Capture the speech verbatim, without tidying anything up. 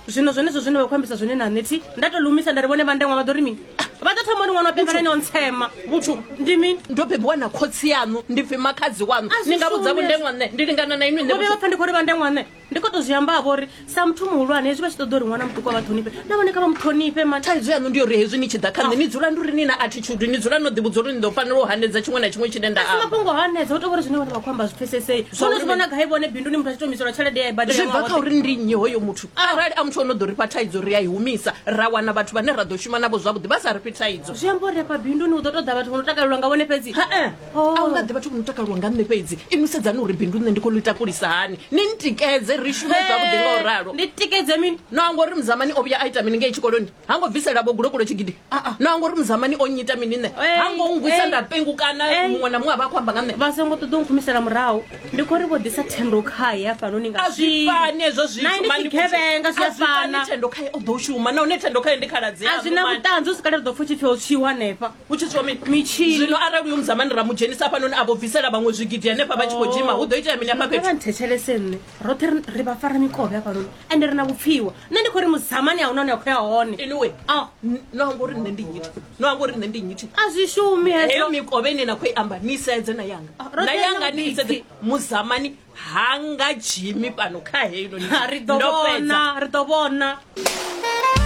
Zwino zwenezwo zwine vha khou ambisa zwone na nṋe thi nda to lumisa nda ri vhone vhandeṅwa vha ḓo ri mini? Vha ḓo thoma uri ṅwana wa beba ene o ntsema. Vhuthu ndi mini? Ndo bebiwa na khotsi yaṋu, ndi pfi makhadzi waṋu. A zwi Ni nga vhudza shumi vhundeṅwa nṋe, ndi lingana na inwi nṋe. Vho vhuya vha pfa ndi khou ri vhandeṅwa nṋe. Ndi khou tou zwi amba vho uri sa muthu muhulwane hezwi vha tshi ṱoḓa uri ṅwana muṱuku a vha ṱhonifhe, na vhone kha vha mu ṱhonifhe mani. Thaidzo yaṋu ndi uri hezwi ni tshi ḓa kha nṋe ni dzula ndi uri ni na attitude, ni dzula no ḓivhudza uri ni ḓo fanela u hanedza tshiṅwe na tshiṅwe tshine nda A si amba. mafhungo hanedza, hu tou vha uri zwine vhone vha khou amba zwi pfesesei. Zwa Vhono uri zwi vhona gai vhone binduni muthu a tshi tou humiselwa tshelede ya i badela Zwi bva ṅwaha kha woṱhe? uri ndi nnyi hoyo muthu. Arali a muthu o no ḓo ri fha thaidzo ri a i humisa, ra wana vhathu vhane ra ḓo shuma navho zwavhuḓi vha sa ri fhi thaidzo. Zwi amba uri afha binduni hu ḓo ṱoḓa vhathu vho no takalelwa nga vhone fhedzi. Hae, Oh. a hu nga ḓi vhathu vho no takalelwa nga nṋe fhedzi. Inwi sedzani uri bindu nṋe ndi khou ḽi takulisa hani, ni ntikedze ri shume zwavhuḓi nga u ralo. Ndi tikedze mini? No anga uri Muzamani o vhuya a ita mini ngei tshikoloni? Ha ngo bvisela vho gulokulo tshigidi? No anga uri Muzamani o nnyita mini nṋe? Ei, Ha ngo nngwisa ei. nda pengukana Ei. muṅwe na muṅwe a vha a khou amba nga nṋe. Vha songo ṱoḓa u nkhumisela murahu. Ndi khou ri vho ḓisa thendo khaye hafhanoni nga A zwi swili. fani hezwo zwithu, Na ini mani tshigevhenga zwi a A zwi fani, fana. Thendo khaye o ḓo shuma, nahone Thendo khaye ndi khaladzi A zwi na yaṋu, mani. vhuṱanzi, hu si kale ri ḓo pfa hu tshi pfi ho tswiwa hanefha. Hu tshi tswiwa mini? Mitshini. Zwino arali uyo Muzamani ra mu dzhenisa hafhanoni a vho bvisela vhaṅwe zwigidi hanefha vha tshi khou dzhima, hu ḓo itea mini hafha Kha vha fhethu? nthetshelese nṋe, roṱhe ri- ri vha fara mikovhe hafhanoni ende ri na vhupfiwa. Nṋe ndi khou ri Muzamani a huna hune a khou ya hone. Anyway, Ah. n- no anga uri nṋe ndi nnyi? No anga uri nṋe ndi nnyi? A zwi shumi Heyo hezwo. mikovhe ine na khou i amba ni sedze na yanga. Ah, roṱhe Na ri na yanga ni i sedze. vhupfi. Muzamani ha nga dzhimi fhano kha heino. Ha, ri ḓo Ndo fhedza. vhona, ri ḓo vhona.